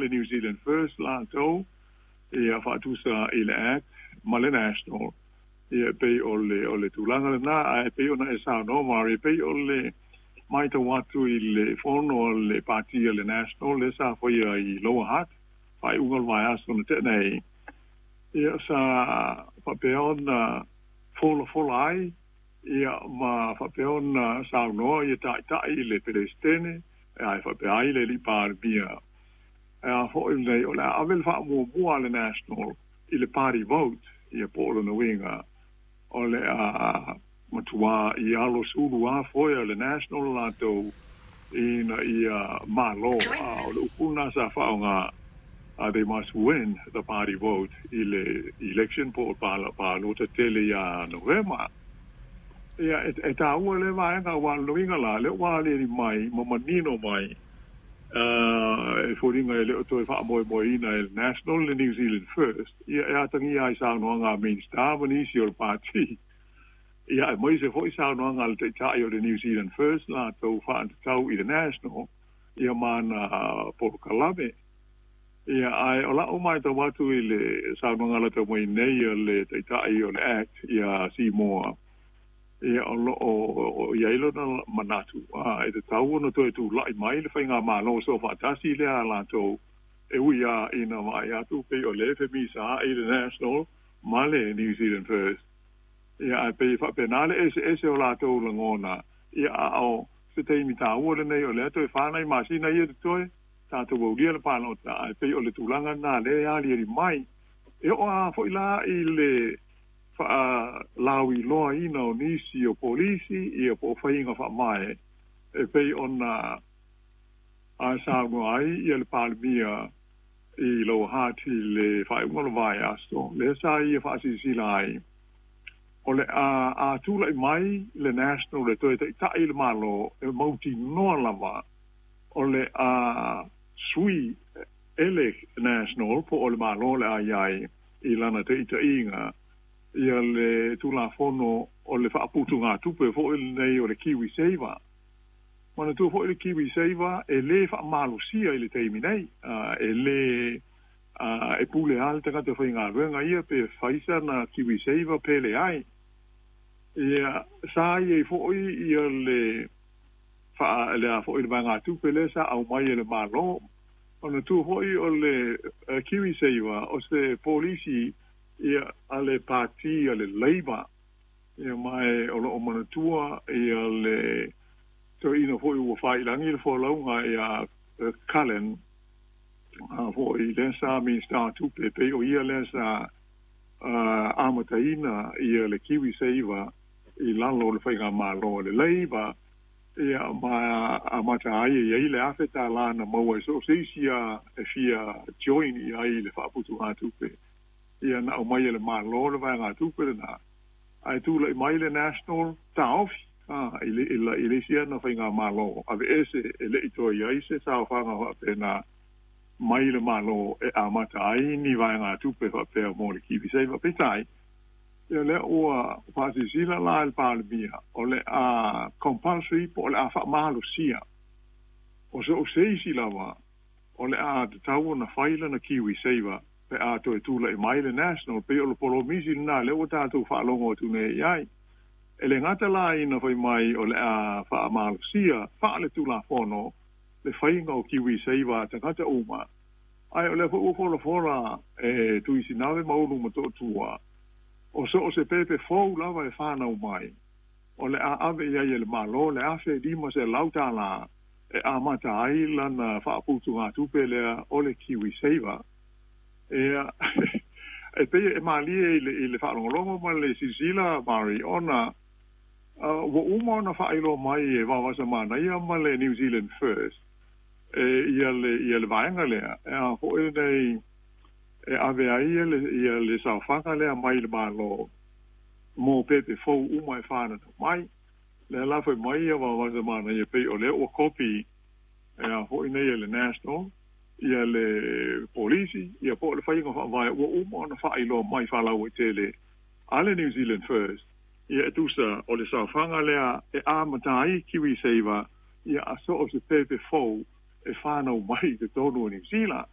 le New Zealand First latou ia faatusa i le Act ma le National. Ia, e pei o le tulaga lena, ae pei ona e saunoa, Mari, e pei o le matau atu i le fono a le pati a le National le sa faia i Lower Hutt faaiuga o le vaiaso na tea nei. Ia, sa faapea ona folafola ai ia ma faapea ona saunoa ia ta'ita'i i le Peresetene ae faapea ai le alii Palemia a fo'i nei o le a ave le faamuamua a le National i le party vote. Ia, po o lona uiga o le a matuā i alo sulu a foe a le National latou ina ia malo a o le upu lena sa faaaoga, they must win the party vote i le election po o palota tele ia Novema. Ia, e tāua le vaega ua loiga la le ua aliali mai ma manino mai e foliga e le o toe faamoemoeina e le National le New Zealand First. Ia, e atagia ai saunoaga a Minista ma nisi o le pati, ia, e mai se fo'i saunoaga a le ta'ita'i o le New Zealand First latou faatatau i le National ia ma na polokalame. Ia, ae o la'u matau atu i le saunoaga lata mai nei a le ta'ita'i o le Act ia Simoa, ia, o lo o i ai lona manatu a e tatau ona toe tula'i mai le faiga malo so faatasi lea a latou, e ui a ina vaai atu pei o le femisa i le National ma le New Zealand First. Ia, ae pei faapena le eseese o latou lagona. Ia, a o se taimi tāua lenei o lea toe 4 nai masina ia totoe tatou aulia le palota, ae pei o le tulaga lena lea e aliali mai e oo a fo'i la i le faalauiloaina o nisi o polisi ia po o faiga faavae e pei ona a saunoa ai ia le Palemia i Lower Hutt i le faaiuga o le vaiaso lea sa ia faasilasila ai o le a tula'i mai le National le toe ta'ita'i le Malo e mautinoa lava o le a sui e le National po o le Malo le a iai i lana ta'ita'iga ia le Tulafono o le faaputugatupe fo'i lenei o le Kiwi Saver. Manatua fo'i le Kiwi Saver e lē faamalosia i le taimi nei, e lē e pule a le tagata faigaluega ia pe faisa na Kiwi Saver pe leai. Ia, sa iai fo'i ia le faa le a fo'i le vaegatupe lea sa aumai e le Malo. Ona tu fo'i o le Kiwi Saver o se polisi ia a le pati a le Labour. Ia, ma e o loo manatua ia le toeaina fo'i ua failagi le folauga ia Cullen a fo'i lea sa Minista Tupe, pei o ia lea sa amataina ia le Kiwi Saver i lalo o le faiga malo le Labour. Ia, ma amata ai e iai le $1,000 na maua i so o se isi a e fia join i ai le faaputugatupe. Ia, na aumai e le Malo le vaegatupe lena, ae tula'i mai le National taofi a i le isi ana faiga malo ave ese e le'i toe iai se saofaga faapena mai le Malo e amata ai ni vaegatupe faapea mo le Kiwi Saver. Peitai, ia, lea ua faasilasila la le Palemia o le a compulsory po o le a faamalosia o so o se isi lava o le a tatau ona fai lana Kiwi Saver pe a toe tula'i mai le National. Pei o le polomisi lena lea ua tatou faalogo atu nei i ai. E le gata la ina fai mai o le a faamalosia faale-tulafono le faiga o Kiwi Saver a tagata uma, ae o lea foi ua folafola e Tuisinave ma Ulu Motootua o so o se pepe fou lava e fanau mai o le a ave i ai e le Malo le $1,500 e amata ai lana faaputugatupe lea o le Kiwi Saver. Ia, e pei e malie i le faalogologo ma le silasila, Mari, ona ua uma ona faailoa mai e Vaovasamanaia ma le New Zealand First e ia le vaega lea e a fo'i lenei e ave ai ia le saofaga lea mai le Malo mo pepe fou uma e fananau mai. Lea la fai mai ia Vaovasamanaia pei o lea ua kopi e a fo'i nei e le National ia le polisi ia po o le faiga faavae ua uma ona faailoa mai faalauaitele a le New Zealand First. Ia, e tusa o le saofaga lea e amata ai Kiwi Saver ia a so o se pepe fou e fanau mai i totonu o Niu Sila.